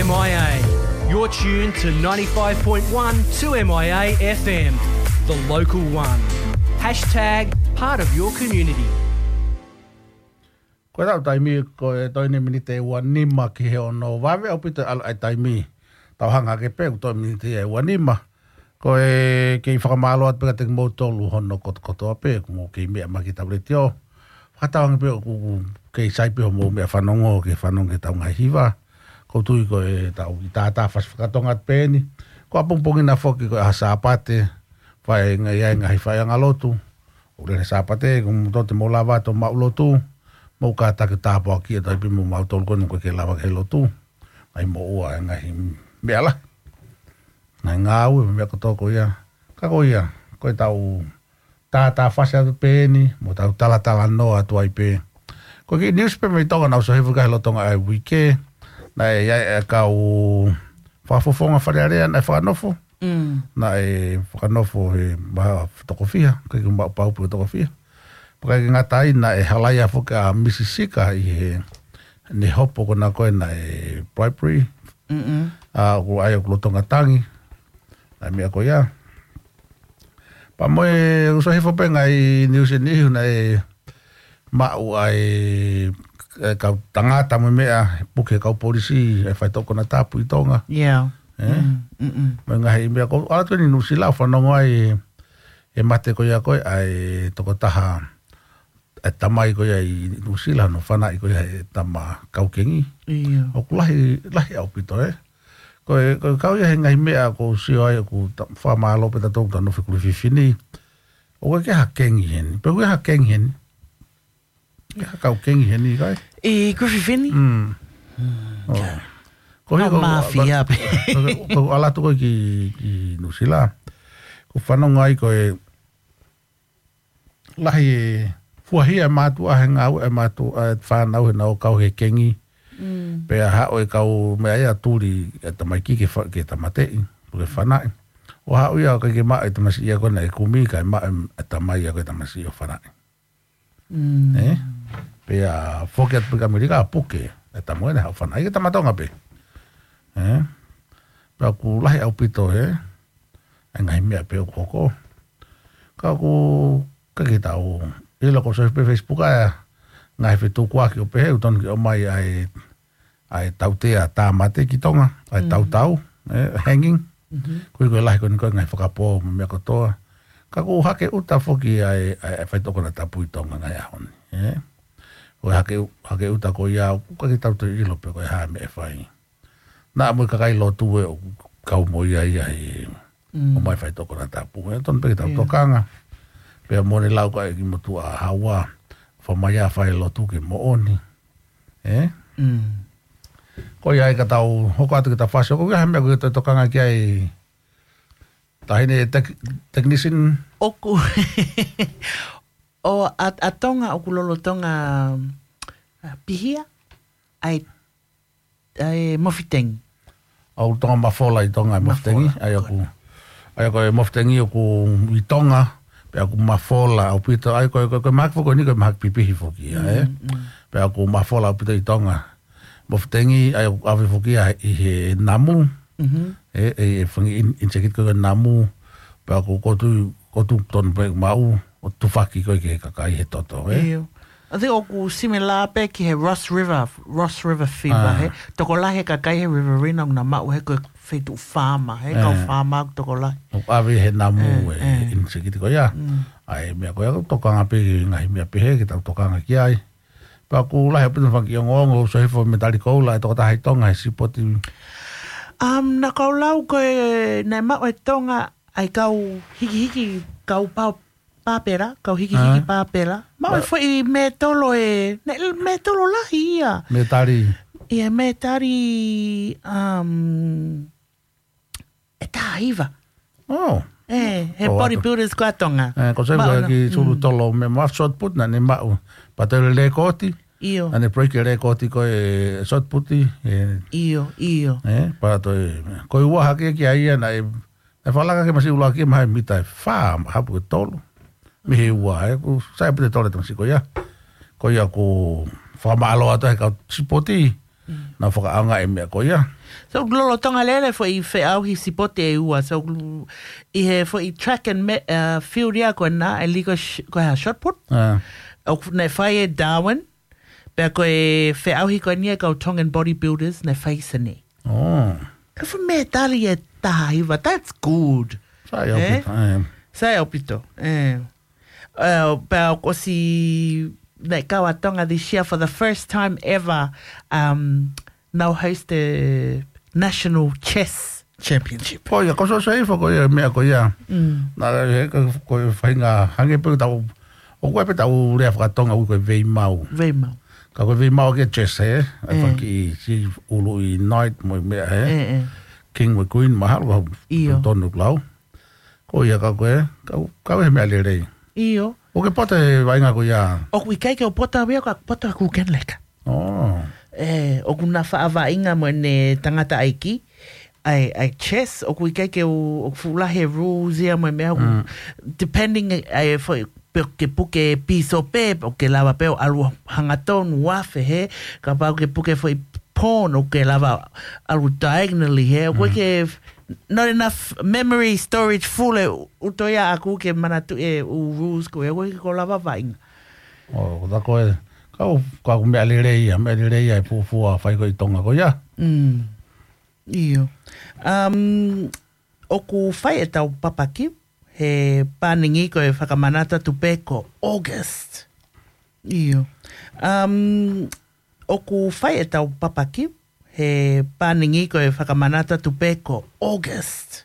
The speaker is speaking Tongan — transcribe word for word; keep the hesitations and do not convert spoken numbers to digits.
M I A. You're tuned to ninety-five point one two M I A F M, the local one. Hashtag part of your community. Ko e tau taimi ko e toe ʻeni miniti ʻe ua nima ki he ono. Vave ʻaupito ʻa e taimi. Tau hanga hake pē ʻoku toe miniti ʻe ua nima. Ko e kei fakamālō atu pē kiate kimoutolu hono kotokotoa pē, ʻoku mou kei meʻa mai ki heʻetau letiō. Fakatauange pē ʻoku kei sai pē hoʻomou meʻa fanongo, ke fanongo ki heʻetau ngaahi hiva. ʻOku ou tui ko e tau ʻi tātā fasi fakatonga atu pē ʻeni. Ko ʻapongipongi na foki ko e ʻaho Sāpate, fai ngaahi, ʻi ai ngaahi faiʻanga lotu. ʻO lele Sāpate, ko e motu te mou lava atu ʻo maʻu lotu. Mou kātaki tāpuakiʻi ʻa e tau pē mo mautolu ko eni ʻoku ʻikai ke lava ke lotu. Ngaahi moʻua, ngaahi meʻa lahi. Ngaahi ngāue, meʻa kotoa ko ia. Ka ko ia, ko e tau tātā fasi atu pē ʻeni, mo tau talatalanoa atu ai pē. Ko e kiʻi news pē mei Tonga naʻa ku sio hifo ki ai he lolotonga ʻa e uike, naʻe ʻi ai e kau fakafofonga Fale Alea naʻe fakanofo. Mm. Naʻe fakanofo he maha toko fiha, ʻikai ke maʻu pau pe toko fiha. Pea ʻikai ke ngata ai naʻe halaia foki ʻa Misi Sika ʻi heʻene hopo ko ena ko ē naʻe bribery. Mm-mm. ʻA, ʻoku ʻi ai ʻoku lolotonga tangi. ʻA e meʻa ko ia. Pea mo e ʻoku sio hifo pē ngaahi news ʻe niʻihi naʻe maʻu ai e kau tangata mo e meʻa, puke kau polisi, e faitoʻo konatapu ʻi Tonga. Yeah. Eh? Mm, mm, mm. Mo e ngaahi meʻa ko ē, ʻalu atu ʻeni Nuʻusila ʻo fanongo ai e mate ko ia ko ē, ʻa e tokotaha, e tamai ko ia ʻi Nuʻusila, hono fanaʻi ko ia he tama kau kengi. Ia. ʻOku lahi, lahi ʻaupito, eh. Ko e, ko e kau ia he ngaahi meʻa ʻoku ou sio ai ʻoku ta-, fakamālō pē tautolu ʻoku tau nofo ʻi Kuififini. ʻOku ʻikai ke ha kengi heni. Pe ʻoku ʻi ai ha kengi heni. ʻI ai ha kau kengi heni kai? ʻI Kuififini? Mm. Mm, ʻo. Ka. Ko e hiko, mafia pē. Ko, ko, ko e ʻalu atu ko ē ki, ki Nuʻusila. ʻOku ou fanongo ai ko e lahi e fuahia e mātuʻa he ngāue e mātuʻa e fānau he nau kau he kengi. Mm. Pea haʻu e kau meʻa ia tuli e tamaiki ke fa-, ke tāmateʻi, ke fanaʻi. ʻO haʻu ia ʻikai ke maʻu e tamasiʻi ia ko ē naʻe kumi, kae maʻu e tamai ia ko ē tamasiʻi ʻo fanaʻi. Mm. Eh? Pea foki atu pē ki ʻAmelika, puke e tama ko ē naʻe haʻu ʻo fanaʻi, ʻikai ke tama Tonga pē. Eh? Pea ʻoku lahi ʻaupito, eh? ʻA e ngaahi meʻa pē ʻoku hoko. Ka ʻoku ʻikai ke tau ʻilo, ʻoku ou sio pē Facebook ʻa e ngaahi fetukuaki ʻo pehē ʻoku totonu ke ʻomai ʻa e, ʻa e tautea tāmate ki Tonga, ʻa e, mm, tautau, eh, hanging. Mhm. Ko e, ko e lahi ko eni ko e ngaahi fakapō mo e meʻa kotoa. Ka ʻoku hake ʻuta foki ʻa e, ʻa e, ʻa e faitoʻo konatapu ʻi Tonga ngaahi ʻaho ni, eh? ʻOku hake ʻu-, hake ʻuta ko ia, ʻoku ʻikai ke tau toe ʻilo pe ko e hā e meʻa ʻe fai. Naʻa mo e kakai lotu ē ʻoku kau mo ia ia he, mm, ʻomai faitoʻo konatapu. ʻE totonu pē ke tau, ia, tokanga. Pea mo ʻene lau ko ē ki motuʻa Haua, fakamai ʻa e fai lotu ke moʻoni. Eh? Mm. Ko ia ai ka tau hoko atu ke tau fasi, ʻoku ʻi ai ha meʻa ʻoku ke toe tokanga ki ai, taʻahine tek-, technician? ʻOku. ʻO ʻa, ʻa Tonga ʻoku lolotonga, ʻa, pihia ʻa e, ʻa e mofitengi. ʻOku lolotonga mafola ʻi Tonga e mofitengi. Mafola. ʻA ia ʻoku, ʻa ia ko e mofitengi ʻoku ʻi Tonga, pea ʻoku mafola ʻaupito. ʻA ia ko e, ko e, ko e mahaki foki ʻeni ko e mahaki pipihi foki ia, eh? Mm, mm. Pea ʻoku mafola ʻaupito ʻi Tonga. Mofitengi, ʻa ia ʻoku ʻave foki ia ʻi he namu. Mhm. E, e, e fanga in-, insect ko ē namu. Pea ʻoku, ʻoku ou tui, ʻoku ou tui totonu pē maʻu ʻo tufaki ko ē ki he kakai he toto, eh? ʻIo. I think ʻoku similar pē ki he Ross River, Ross River fever, ah, he tokolahi e kakai he Riverina ʻoku nau maʻu he ko e feituʻu faama, he kau, eh, faama ʻoku tokolahi. ʻOku ʻave he namu, eh, e, eh, insect ko ia. Mm. ʻA e meʻa ko ia ʻoku tokanga pē ki he ngaahi meʻa pehē ke tau tokanga ki ai. Pea ʻoku lahi ʻaupito e fanga kiʻi ongoongo, ʻoku ou sio hifo he Metali Koula, e tokotaha ʻi Tonga he sipoti. Um, naʻa ku lau ko ē, naʻe maʻu ʻe Tonga ʻa e kau hikihiki, kau pao-, pāpela, kau hikihiki, ah, pāpela. Maʻu e, ah, foʻi mētolo ē, naʻe mētolo lahi ia. Mētali. ʻIa, mētali, um, ʻe taha hiva. Oh. ʻE, he, oh, bodybuilders ko ē ʻa Tonga. Eh, ko e save maʻu ko ē na, ki sulu, mm, tolo, meʻa mo e shot put naʻa ne maʻu. Pea toe lēkooti. ʻIo. Naʻa ne break e lēkooti ko e shot put, eh. ʻIo, ʻio. Eh, pea toe, ko e ua hake ki ai ia naʻe, naʻe fakalaka ki he masiʻi ʻuluaki mahalo mita ʻe fā, hapu ʻe tolu. Mei he ua, eh, ʻoku sai ʻaupito e tolo e tamasiʻi ko ia. Ko ia ʻoku ou fakamālō atu he kau sipoti. Naʻa fakaʻaongaʻi e meʻa ko ia. So, lolotonga lele foʻi feʻauhi sipote ʻe ua. So, ʻi he foʻi track and me-, uh, field ia ko ena, ʻa e league sh-, ko e shot put. Ah. ʻOku ne fai ʻe Darwin, pea ko e feʻauhi ko eni ʻa e kau Tongan bodybuilders, ne fai ʻi Senē. Oh. Ka foʻi mētali ʻe taha hiva, that's good. Sai ʻaupito, eh? Sai ʻaupito, eh. Uh, pea ʻoku ʻosi, ne kau ʻa Tonga this year for the first time ever, um, nau host the National Chess Championship. Ko ia, ko e sosaifa ko ia, meʻa ko ia. Mm. Naʻe, he, ko, ko e faʻahinga, hangē pē tau, ʻoku ʻi ai pē tau lea fakatonga ʻoku ui ko e veimau. Veimau. Ka ko e veimau ki he chess, he? ʻA e Eh. faki si ulu i knight mo e meʻa, he? Eh, eh. King mo e queen, mahalo ko Io. Tonu lau. Ko ia ka ko e, ka, ka ko e meʻa lelei. Io. ʻOku ke poto he vaʻinga ko ia. ʻOku ʻikai ke u poto au ia, ka poto ʻa Kuken Leka. Oh. Eh, ʻoku na faʻa vaʻinga mo ʻene tangataʻeiki. ʻA e, ʻa e chess, ʻoku ʻikai ke u, ʻoku fuʻu lahi e rules ia mo e meʻa ʻoku, Mm. depending, ʻa e foʻi, pe ke puke pīsope, ʻoku ke lava pē ʻo ʻalu hangatonu ʻo afe he, kapau ke puke foʻi pawn, ʻoku ke lava ʻalu diagonally he, ʻoku Mm. ke, not enough memory storage full e ʻuto ia ʻaku ke manatuʻi e ʻū rules ko e, ʻoku ʻikai ke u lava vaʻinga. Oh, ko tā ko e, ka ʻoku, ka ʻoku meʻa lelei ia, meʻa lelei ia e fuofua fai ko ē ʻi Tonga ko ia. Mm. Io. Um, ʻoku fai ʻetau papaki, he pāningi ko e fakamanatu atu pē ko August. Io. Um, ʻoku fai ʻetau papaki, he pāningi ko e fakamanatu atu pē ko August.